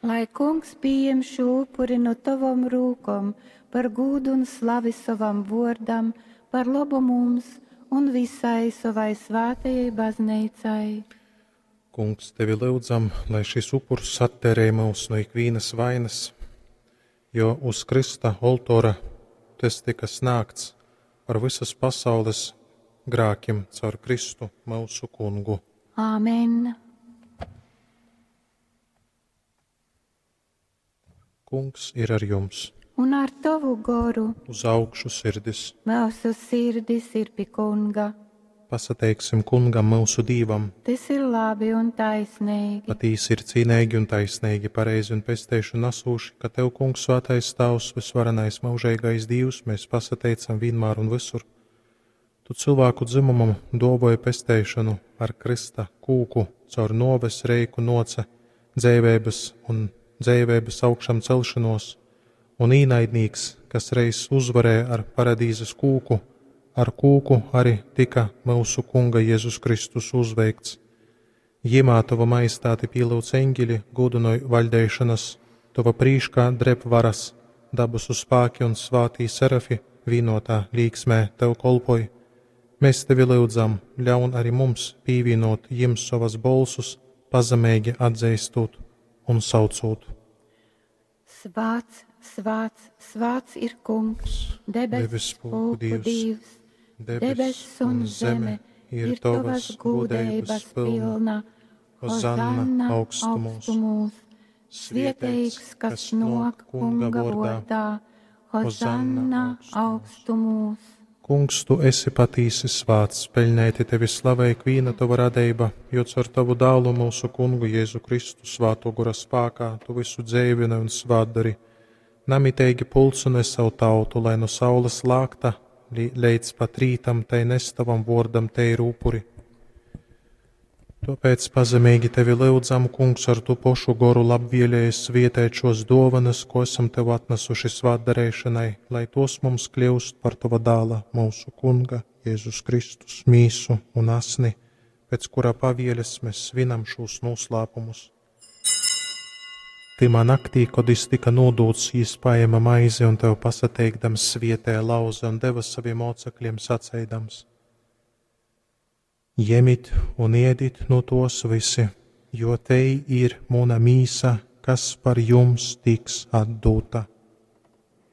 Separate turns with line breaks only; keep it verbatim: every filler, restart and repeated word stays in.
Lai Kungs pījem šū upuri nu tovom rūkom par gūdu un slavi sovam vōrdam, par lobu mums un vysai sovai svātajai bazneicai.
Kungs, tevi lyudzam, lai šis upurs atteirej myus nu ikvīnas vainas, jo uz krysta oltora tys tyka snāgts par vysas pasaules grākim caur Kristu myusu Kungu.
Āmen.
Kungs ir ar jums.
Un ar tovu goru.
Uz augšu sirdis.
Myusu sirdis ir pi Kunga.
Pasateiksim Kungam myusu Dīvam.
Tys ir labi un taisneigi.
Patīsi ir cīneigi un taisneigi, pareizi un pesteišonu nasūši, ka Tev, Kungs, Svētais Tāvs, vysvarenais myužeigais Dīvs, mēs pasateicam vienmēr un visur. Tu cilvēku dzimumam dōvoji pesteišonu ar krysta kūku, caur nōves reiku noce dzeiveibas un dzeiveibas augšām celšanos, un īnaidnīks, kas reiz uzvarēja ar paradīzes kūku, ar kūku arī tika myusu Kunga Jēzus Kristus uzveikts. Jimā tava majestāti pielūdz eņģeļi, gudinoj vaļdeišanas, tava prīškā dreb varas, dabasu spāki un svātī serafi vienotā līksmē tev kolpoj. Mēs tevi lyudzam, ļaun arī mums pīvienot jim savas bolsus, pazemeigi atzīstot un saucot.
Svāts, svāts, svāts ir Kungs, debesu pulku Dievs. Dievs. Debess un zeme ir tavas gūdeibas pilna. Hozanna augstumos. Svieteigs, kas nāk Kunga vārdā. Hozanna augstumos.
Kungs, tu esi patīsi svāts, peļnēti tevi slavē ikvīna tava radeiba, jo caur tavu dālu mūsu kungu Jēzu Kristu svāto gora spākā tu visu dzeivini un svātdari. Namiteigi pulcini savu tautu, lai no saules lākta līdz pat rītam tai nes tavam vōrdam teiru upuri. Tāpēc pazemīgi tevi lyudzam, Kungs, ar tu pošu goru labvēlējies svietēt šos dovanas, ko esam tev atnesuši svētdarīšanai, lai tos mums kļūst par tava dāla, mūsu Kunga, Jēzus Kristus, mīsu un asni, pēc kura pavieles mēs svinam šos noslēpumus. Timā naktī, kad jis tika nodūts, jis paēma maizi un tev pasateikdams svietēja lauze un deva saviem mocekļiem saceidams: Ņemit un ēdit no tos visi, jo te ir muna mīsa, kas par jums tiks atdota.